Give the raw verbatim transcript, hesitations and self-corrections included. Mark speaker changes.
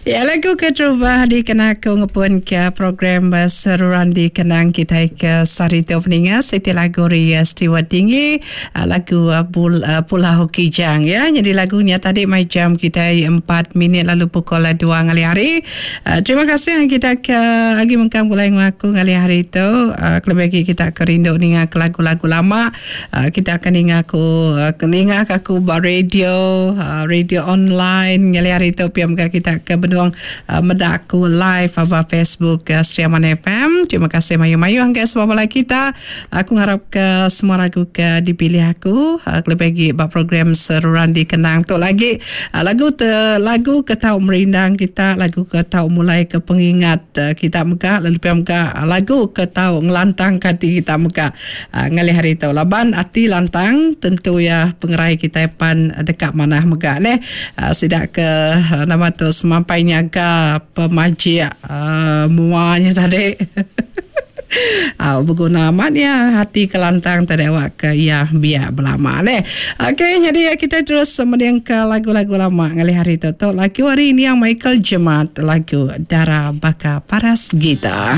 Speaker 1: Ya, lagu keterubah dikena aku ngepun ke program Seruran Dikenang kitai ke sehari tu peninga siti lagu ari Steward Tinggi lagu Pulau Kijang ya. Nyadi lagu nya tadi mai jam kitai empat minit lalu pukul dua ngalih hari. Terima kasih kita ke agi mengkang pulai enggau aku ngalih hari tu kelebih agi kita ke rindu ninga ke lagu-lagu lama. Kita akan ninga aku ninga ka aku ba radio, radio online ngalih hari tu pia mega kita ke benung meda aku live ba Facebook Sri Aman F M. Terima kasih mayuh-mayuh enggai semua bala kita. Aku ngarap ke semua lagu ke dipilih aku kelebih agi ba program Seruran Dikenang tu lagi lagu te lagu ke tau merindang kita, lagu ke tau mulai ke pengingat kita mega lalu pia mega lagu ke tau ngelantangka ati kita mega. Ngalih hari tu laban ati lantang tentu iya pengerai kitai pan deka manah mega neh. Sida ke nama tu semampai nyaga pemajik mua nya tadi. Au beguna amat iya ati ke lantang tadi awak ke iya biak belama neh. Okey nyadi kitai terus mendingka lagu-lagu lama ngalih hari tu. Tu lagu ari niang Michael Jemat lagu Dara Baka Paras Gita.